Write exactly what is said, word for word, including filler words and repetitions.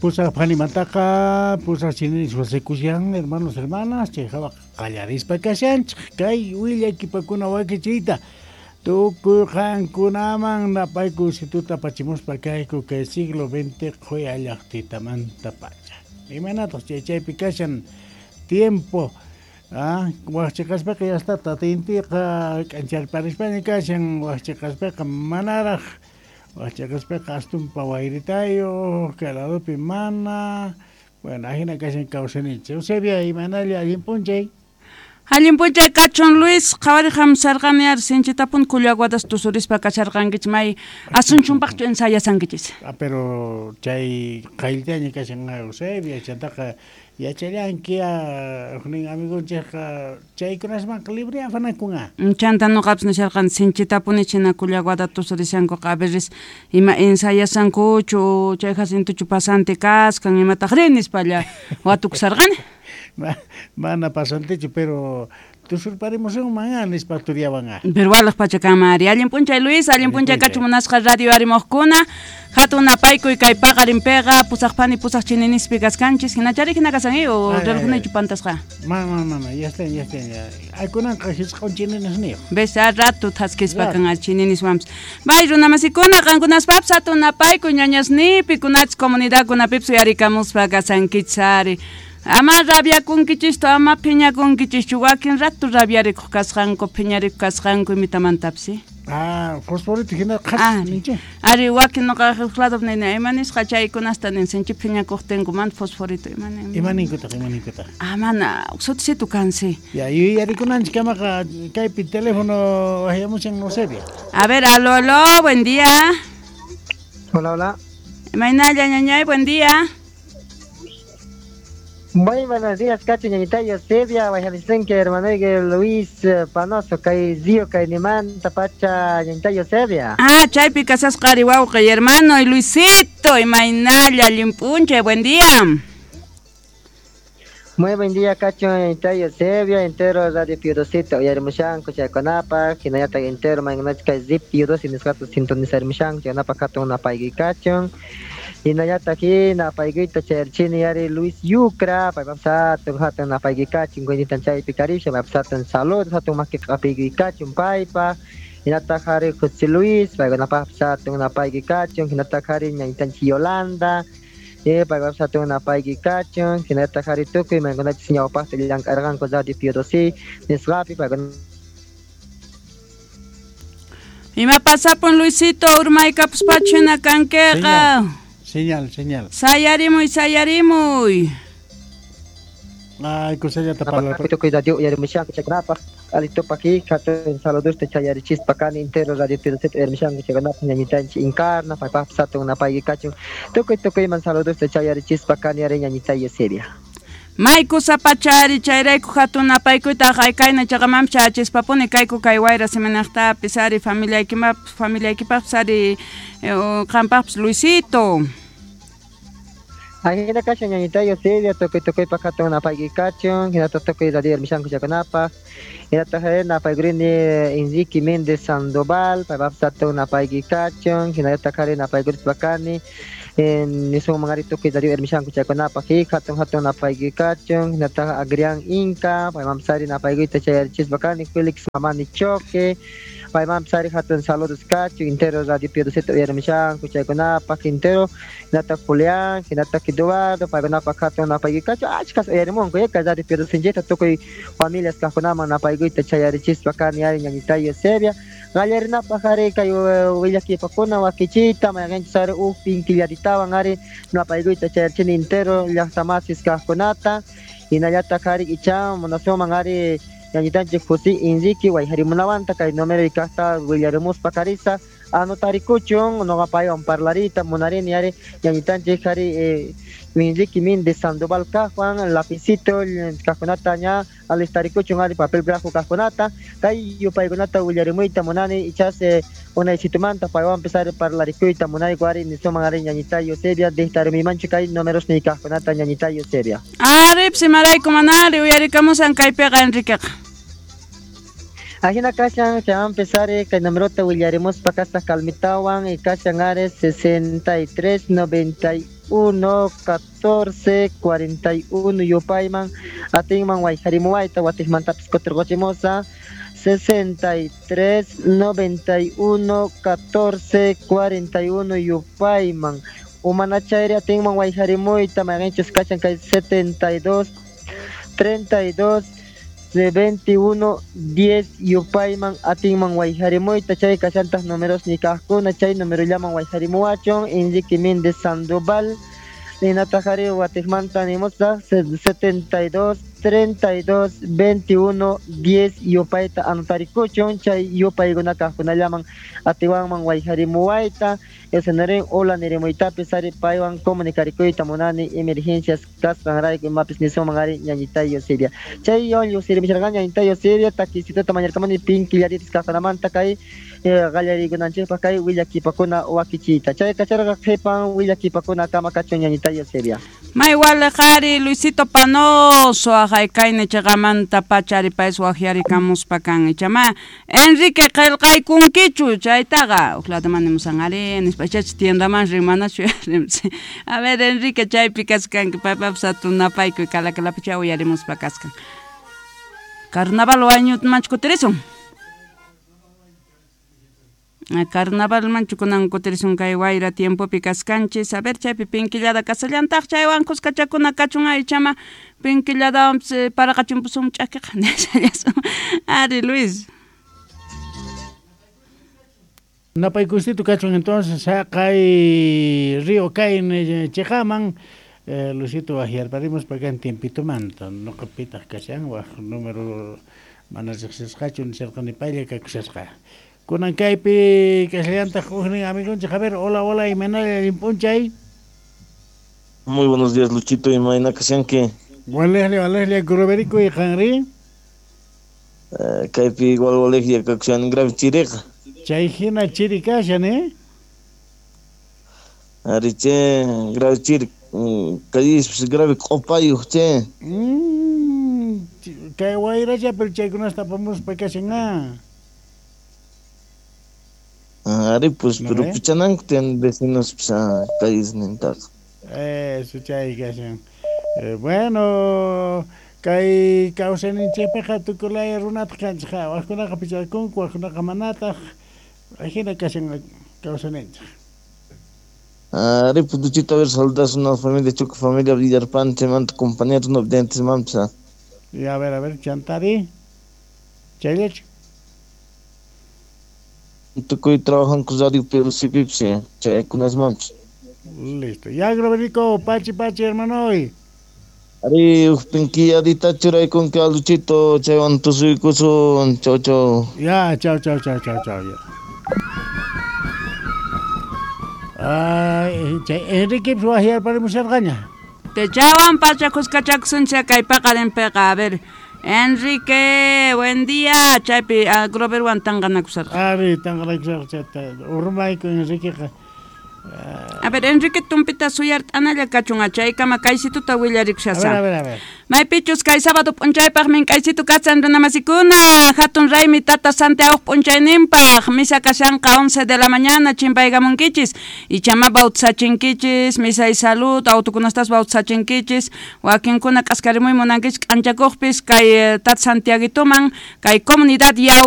Pusaq phanimantaqa pusaq chininis wasikushan hermanos hermanas chay hawaqa qallarispa kashanchik kay willakipakuna wakichiyta tukuy qankunaman napayku situta apachimuspa kayku kay siglo veinte qhuya llaqtitamanta pacha. Imaynataq chay chaypi kashan tiempo ah waqchiqaspaqa yastata tintiqa k'ancharparispaña kashan waqchiqaspaqa manaraq waqchiqaspaqa astumpa wayritayo kay ladopi mana bueno ahina kashan kawsayninchik. Eusebia imaynalla allin p'unchay. Allin p'unchay kachun Luis, qhawari hamsarqani ari sinchitapun kullaguadas tusurispa kasharqankichik may Asunchunpaqchu ensayasankichis. Ah, pero chay qayllitaña kashan Eusebia chantaqa yachallanki huknin amigunchikqa chaykunasmanqa libre afanakunqa. Chanta nuqapis nisharqani sinchitapuni china kullaguada tusurishankuqa a veces ima ensayasankuchu chay Jacintochu pasante kaskan imataqri nispalla watukusarqani. Mana pasantechu pero tusurparimusunman nispa turiawan. Pero walaq pachakama ari allin p'unchay Luis, allin p'unchay kachu munasqa radio arimuqkuna hatun napaykuy kay paqarinpiqa pusaq phani pusaq chininispi kaskanchis hinachari hina kasan o relojniychu pantasqa. Mana mana ya está ya está ya. Aykunanqa hisq'un chininisniyuq. Ves a rato thaskispa kan al chininiswanpas. Bay runamasikuna qankunaspapis hatun napaykuy ñañasnipi kunachis comunidadkunapipis uyarikamuspa kasankichis ari. Ama rabiakunkichistu, ama phiñakunkichischu, wakin rato rabiarikuq kasqanku, phiñarikuq kasqanku imitamantapis. Ah, fosforito hina qhas ninchik. Ari wakin nuqa huk lado nini, ima nisqa chaykunasta nin sinchi phiñakuqtinku mana fosforito ima nin. Ima ninkutaq, ima ninkutaq. Ah, mana sutisitu kansi. Ya, yuyarikunanchik kamaqa kaypi teléfono waqyamushan Eusebia. A ver, aló, aló, buen día. Hola, hola. Imaynalla ñañay, buen día. Muy buenos días, Cacho, ñañita Eusebia, guayanisenque, hermano Luis Panoso, kay Zio, kay Niman, Tapacha, ñañita Eusebia. Ah, chaypi kasasqa ari wawqi, hermano, y Luisito, imaynalla, allinp'unchay, buen día. Muy buen día, Cacho, ñañita Eusebia, entero Radio Piudosito, uyarimushanku, chaykunapaq, hinallataq entero, maynachka kay Zip Piudosi nisqata sintonizarimushanku, chaykunapaq hatun napayki kachun. Hinallataq hina apaykuyta chayarchini ari Luis Yucra, paypap hatun hatun apaykikachun, kuynita chaypi karisha, paypap hatun salud, hatun maki apaykikachun paypa, hinataq ari José Luis, paykunapaq hatun apaykikachun, hinataq ari ñañitanchik Yolanda, eh paypap hatun apaykikachun, hinataq ari tukuy maykunachis ñawpaqta llank'arqanku Radio Piudosi nisqapi paykuna. Ima pasapun Luisito, urmaykapuspachu hina kankiqa. Señal, señal. Sayarimuy, sayarimuy. Ay, kusallata parlar. Tukuy radio uyarimushanku chaykunapaq, alitupaki, hatun saludusta chayarichispa kani entero Radio Piudosita uyarimushanku chaykunapaq ñañitanchik Encarna, paypaq hatun napaykikachun, tukuy tukuyman saludusta chayarichispa kani ari ñañita Eusebia. May kusapachari chayrayku hatun napaykuyta haykayna chaqamanpis chachispapuni kayku kay wayra siminaqtapis ari familiaykimapis familiaykipaqpis ari qampaqpis Luisito. Ahina kashan ñañita Eusebia, tukuy tukuypaq hatun napaykikachun, hinata tukuy radio uyarimushanku chaykunapaq, hinataq napaykurini Enrique Méndez Sandoval, paypaqpis hatun napaykikachun, hinallataq ari napaykurispa kani nisunman ari tukuy radio uyarimushanku chaykunapaq, hatun hatun napaykikachun, hinataq Agrián Inca, paymanpis ari napaykuyta chayarichispa kani, Felix Mamani Choque, paymanpis ari hatun saludos kachun, entero Radio Piudosita uyarimushanku chaykunapaq, entero hinataq Julián, hinataq Eduardo, paykunapaq hatun napaykikachun, achkas uyarimunku, kay Radio Piudosinchikta tukuy familias kaqkunaman napaykuyta chayarichispa kani ari ñañita Eusebia, qallarinapaq ari kay willakipakuna wakichiyta, mayqinchis ari huk pinkillaritawan ari napaykuyta chayarichini entero llaqtamasis kaqkunata, hinallataq ari icha munasunman ari ñañitanchik José Enrique wayharimunawanta kay número kaqta willarimuspa karisa anotarikuchun nuqa paywan parlarita munarini ari ñañitanchik ari Enrique Méndez Sandoval kaqwan lapicito kaqkunata ña alistarikuchun ari papel grafo kaqkunata kay yupaykunata willarimuyta munani ichas unaysitumanta paywanpis ari parlarikuyta munayku ari nisuman ari ñañita Eusebia dictarimimanchu kay números ni kaqkunata ñañita Eusebia. Aripis imarayku manari uyarikamusan kaypiqa Enriqueqa. Ajina kashan chaywanpis ari kay numerota willarimuspa kasaq kalmitawan y kashan ari sesenta y tres noventa y uno catorce cuarenta y uno yupayman atinman wayjarimuwayta watiqmantapis kutirquchimusa sesenta y tres noventa y uno catorce cuarenta y uno yupayman umanachayri atinman wayjarimuyta mayqinchus kachan kay setenta y dos treinta y dos veintiuno diez yupayman atinman wayjarimuyta chay kachantaq números nikaqkuna chay numerollaman wayjarimuwachun Enrique Méndez Sandoval ninataqari watiqmanta nimusaq setenta y dos treinta y dos veintiuno diez yupayta anotarikuchun chay yupaykuna kaqkunallaman atiwanman wayjarimuwayta esanarin hola nirimuytapis ari paywan comunicarikuyta munani emergencias kasqanrayku imapis nisuman ari ñañitayo Siria chay yon lluqsirimisharqani ñañitayo Siria takisituta mañarqamani pinkillaritis kaqkunamanta kay qallariykunanchikpaq kay willakipakuna wakichiyta chay kacharqa qhipan willakipakuna kama kachun ñañitayo Siria May waliqari Luisito Panoso ajay kayni chiqamanta pachari paysi waqyarikamuspa kan ichama Enrique qillqaykunkichu chaytaqa uqlataman nimusan ari nispa chachi tiendaman rimanachu a ver Enrique chaypi kaskanki paypapas hatun napaykuy kalakalapi chay uyarimuspa kaskan Carnaval wañutmanchu kutirisun Carnaval manchu kunan kutirisun kay wayra tiempopi kaskanchis a ver chaypi pinkillada kasallantaq chaywan kuskachakuna kachun aychama pinkilladawanpis paraqachunpusum ch'akiqa nishallasun ari Luis Napaykusito kachun entonces haqay Río Kayne chiqaman eh, Luisito waqyarparimus pakan tiempitomanta nuqapitaq kashan waq número mana riqsisqachu nisharqani paylla kakushasqa kunan kaypi kashallantaq huknin amigonchik a ver hola hola imaynalla llimp'unchay Muy buenos días Luchito imayna kashanki Walejlla walejlla Groverico y qanri eh, kaypi igual walejlla kakushan grave chiriqa chay hina chiri kashan eh ari che grave chiri kallispis grave q'upayuq che mm, kay wayracha pero chaykunasta apamuspa kashan ah Ari pues ¿No pero ve? pichananku tiyan vecinos pues kallisnintaqa Eso chay kashan eh, bueno kay kawsayninchikpiqa tukuylaya runataq kanchik waqkunaqa pichakunku waqkunaqa manataq ajina kashan kawsayninchik Ari pues Luchito a ver saludas una familia Chuca familia Villarpante manta compañeros no videntes mampsa y a ver a ver chantari chayllachu tukuy trabajanku radio P C P chaykunas mampis Listo. Ya, Groverico, pachi, pachi, hermano. Hoy. Ari, pinkilladita churaykunki a Luchito, chaywan tusuykusun, chau, chau. Ya, chau, chau, chau, chau, chau. Ya. Ay, chay Enrique waqyarparimusharqaña. Te chaywan pacha kuskachakusunchik kay paqarinpiqa a ver Enrique, buen día. Chaypi uh, Groverwan tanqanakusarqa. Ari, tanqanakusarqa chayta. Urmayku Enriqueqa. A ver, Enrique tumpita suyart'analla kachun chaykama kaysituta willarikushasa. A ver, a ver, a ver. Maypichus kay sábado p'unchaypaq mink'aysitu kasan runamasikuna hatun raymi tata Santiago p'unchayninpaq misa kashanqa once de la mañana chimpaykamunkichis ichama bautizachinkichis misa y salud autukunastas bautizachinkichis wakinkuna k'askarimuy munankichis k'anchakuqpis kay tata Santiaguituman kay comunidad yaw